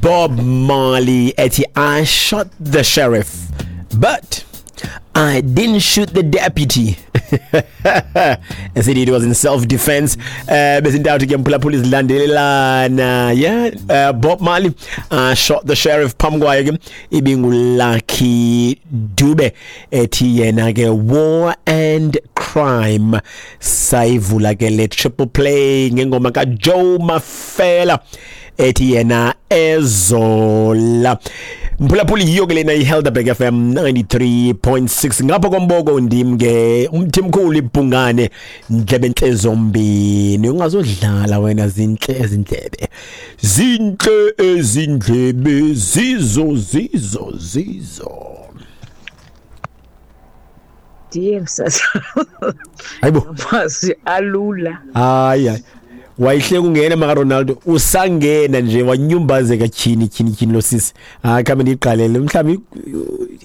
Bob Marley ethi I shot the sheriff but I didn't shoot the deputy. Esithi it was in self defense. Besintathu ke mphulaphula izilandelelana. Yeah, Bob Marley shot the sheriff phambi kwayo ke ibinguLucky Dube ethi yena ke war and crime. Sayivula ke le triple play ngengoma kaJoe Mafela ethi yena ezola. Mphulaphuli, yiyo ke lena iHelderberg FM 93.6 ngapha komboko. Ndim ke umthimkhulu ibhungane, ndlebe entle zombini. Ungazodlala wena, zintle ezindlebe, zintle ezindlebe, zizo zizo zizo. Ndiye msasa. Hayibo. Amazwi alula. Hayi hayi, wayihle kungena maka Ronaldo, usangena nje wanyumbazeka. Tyhini tyhini tyhini, lo sisi, hayi, khabe ndiyiqalele mhlawumbi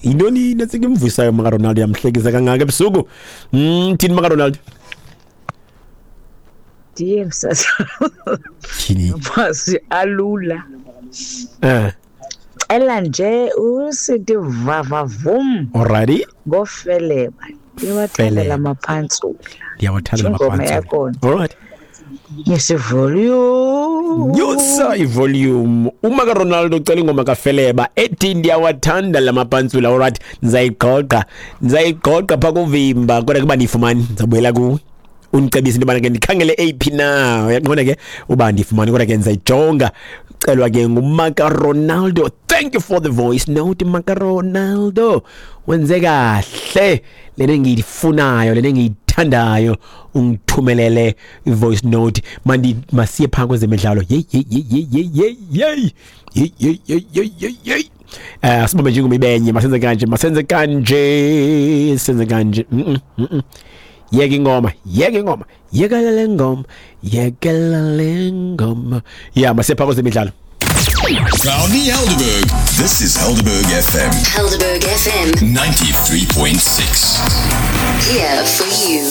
yintoni netsika imvuyisayo maka Ronaldo, yamhlekisa kangaka ebusuku. Thini maka Ronaldo? Ndiye msasa. Tyhini. Amazwi alula. Cela nje usithi vavavum. Alrighty. Ngofeleba, ndiwathandela Feleba. Amapantsula. Ndiyawathanda Ingoma lamapantsula. yakhona. Alright. Yesivolume. Nyusa ivolume. Uma kaRonaldo ucela ingoma kaFeleba ethi ndiyawathanda lamapantsula. Alright, ndizayigqogqa, ndizayigqogqa phaa kuvimba, kodwa kuba ndiyifumani ndizabuyela kuwe undicebise into yobana ke ndikhangele eyiphi na. Uyaqonda ke uba ndiyifumani, kodwa ke ndizayijonga. Celwa ke ngumaka Ronaldo. Thank you for the voice note, maka Ronaldo. Wenze kahle, lena engiyifunayo, lena engiyithandayo, ungithumelele i-voice note. Mandi masiye phaa kwezemidlalo. Yeyi yeyi yeyi yeyi yeyi yeyi yeyi yeyi yeyi yeyi yeyi. Sibambe nje ingoma ibenye. Masenze kanje, masenze kanje, senze kanje. Yeka ingoma, yeka ingoma, yekela le ngoma, yekela le ngoma. Ya, masiye phaa kwezemidlalo. Proudly Helderberg. This is Helderberg FM. Helderberg FM. 93.6. Here for you.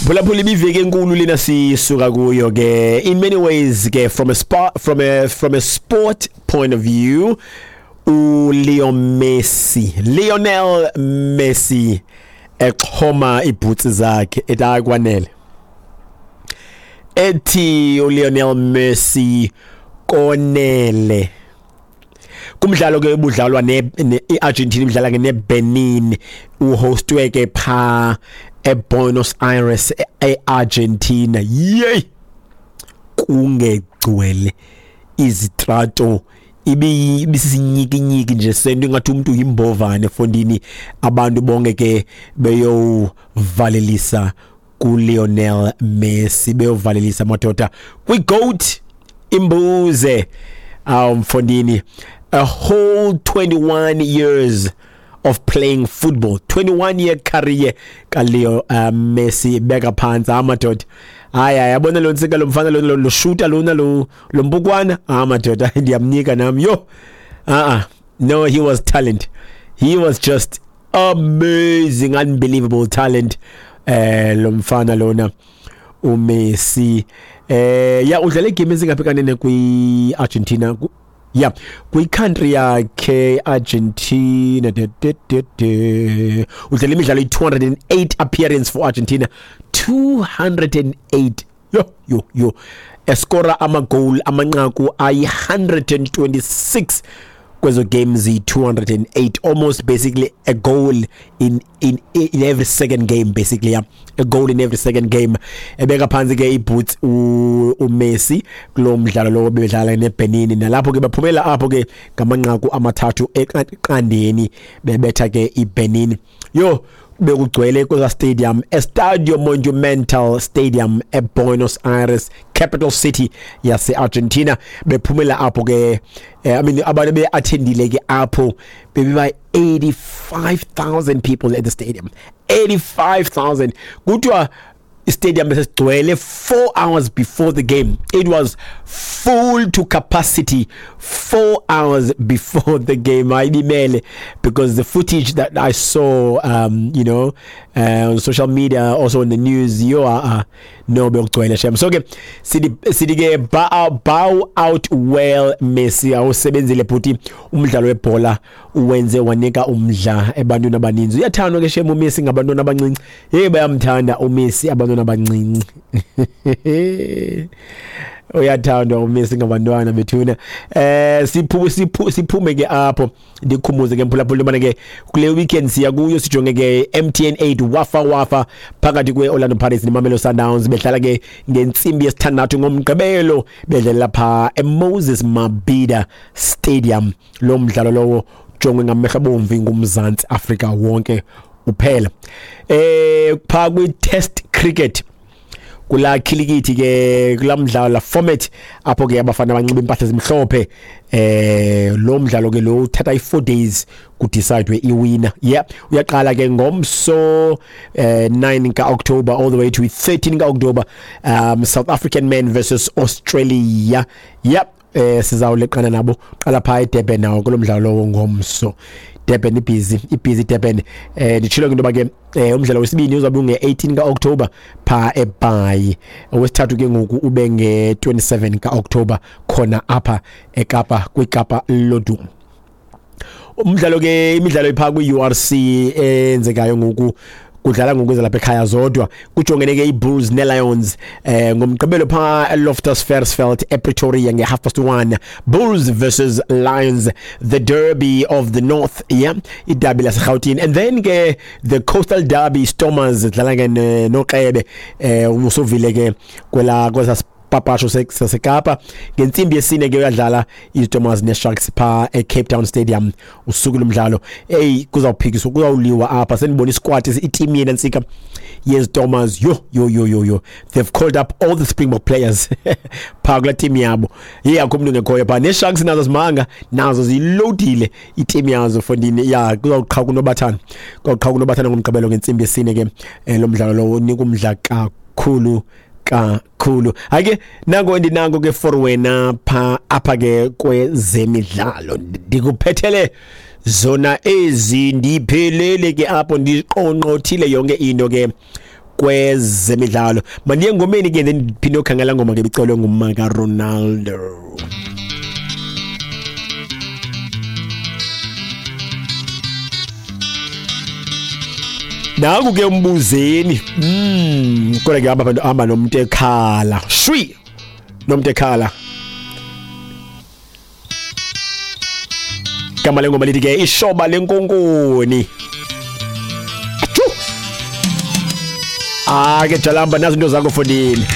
Phulaphula, ibiveki enkulu lena sisuka kuyo ke in many ways ke from a sport point of view. uLeo Messi, Lionel Messi exhoma ibhutsi zakhe ethi akwanele, ethi uLionel Messi konele kumdlalo ke ubudlalwa ne iArgentina imidlala ke neBenin, uhostwe ke pha eBuenos Aires eArgentina. Yey, kungegcwele izitrato, ibisisinyikinyiki nje sento ingathi umuntu yimbovane fondini, abantu bonke ke beyovalelisa kuLionel Messi, beyovalelisa madoda kwiGoat imbuze. Mfondini, a whole 21 years of playing football, 21 year career kaLeo Messi beka phansi amadoda. Hayi hayi, yabona lo ntsika, lo mfana lo shooter lona, lo mbukwana, amadoda, ndiyamnika nami yo. No, he was talent. He was just amazing, unbelievable talent, lo mfana lona uMessi. Ya, udlale igame ezingaphi kanene kwi-Argentina? Ya, kwi-country yakhe Argentina de, de, de, de. Udlale imidlalo i-208 appearance for Argentina, 208. Yo yo yo, eskora amagoal, amanqaku ayi-126 kwezo games i-208, almost basically a goal in every second game basically. Yeah, a goal in every second game. Ebeka phansi ke iboots uMessi kulo mdlalo lo bebedlala neBenin, nalapho ke baphumela apho ke ngamanqaku 3-0 bebetha ke iBenin. Yo, bekugcwele kweza stadium, Estadio Monumental Stadium eBuenos Aires, capital city yase-Argentina. Bephumela apho ke, I mean, abantu be-attendile ke apho bebeba 85,000 people at the stadium, 85,000. Kuthiwa Stadium besesigcwele 4 hours before the game. It was full to capacity 4 hours before the game. Ayibimele, because the footage that I saw on social media, also in the news, yo, no, bekugcwele shem. So ke sithi ke bow out well, Messi. Awusebenzile bhuti, umdlalo webhola uwenze wanika umdla ebantwini abaninzi. Uyathandwa ke shem uMessi ngabantwana abancinci. Hey, bayamthanda uMessi abantwana abancinci. Uyathandwa uMessi ngabantwana bethuna. Siphume ke apho, ndikhumbuze ke mphulaphula ubana ke kule weekend siya kuyo, sijonge ke MTN 8 wafa wafa phakathi kwe-Orlando Pirates neMamelodi Sundowns, bedlala ke ngentsimbi yesithandathu ngoMgqibelo, bedlalela pha eMoses Mabhida Stadium. Lo mdlalo lowo jongwe ngamehlo abomvu nguMzantsi Afrika wonke uphela. Pha kwi-test cricket, kula khilikithi ke, kula mdlalo la format apho ke abafana banxiba impahla ezimhlophe, lo mdlalo ke lo uthatha i4 days ku decide iwinner. Yeah, uyaqala ke ngomso 9 ka October all the way to 13 ka October, South African men versus Australia. Yep, sizawuleqana nabo qala pha eDurban nawo kulo mdlalo ngomso. Durban ibhizi Durban. Nditshilo ke into yoba ke umdlalo wesibini uzabe unge-18 ka-October pha eBhayi, owesithathu ke ngoku ube nge-27 ka-October khona apha eKapa kwiKapa Lodumo. Umdlalo ke, imidlalo ipha kwi-URC eyenzekayo ngoku, kudlala ngoku lapha ekhaya zodwa, kujongene ke iBulls neLions ngomgqibelo pha eLoftus Versfeld ePretoria nge-1:30, Bulls versus Lions, the derby of the north, yeah, iderby laseGauteng. And then ke the coastal derby, Stormers dlala ke noQebe, usovile ke kwela kwesa papasho saseKapa ngentsimbi yesine ke uyadlala iStormers neSharks pha eCape Town Stadium usuku lomdlalo. Hey, kuzawuphikiswa, kuzawuliwa apha. Senibona isquad, iteam yena ntsika yeStormers. Yo yo yo yo yo, they've called up all the Springbok players pha kula team yabo. Hey, akho umuntu ngekhoyo pha. NeSharks nazo simanga nazo zilodile iteam yazo fondini. Ya, kuzawuqhawuka unobathana, kuzawuqhawuka unobathana ngomgqibelo ngentsimbi yesine ke. Lo mdlalo lowo unika umdla kakhulu kakhulu. Ake nango ndinango ke for wena pha apha ke kwezemidlalo, ndikuphethele zona ezi, ndiphelele ke apho, ndiqonqothile yonke into ke kwezemidlalo. Mandiye ngomeni ke, ndiphinde okhangela ngoma ke bicelwe ngumaka Ronaldo. Nangu ke umbuzeni. Kodwa ke hamba hamba nomuntu ekhala. Shwi. Nomuntu ekhala. Igama lengoma lithi ke ishoba lenkonkoni. Achu. Ah, ke jalamba nazo into zakho fondini.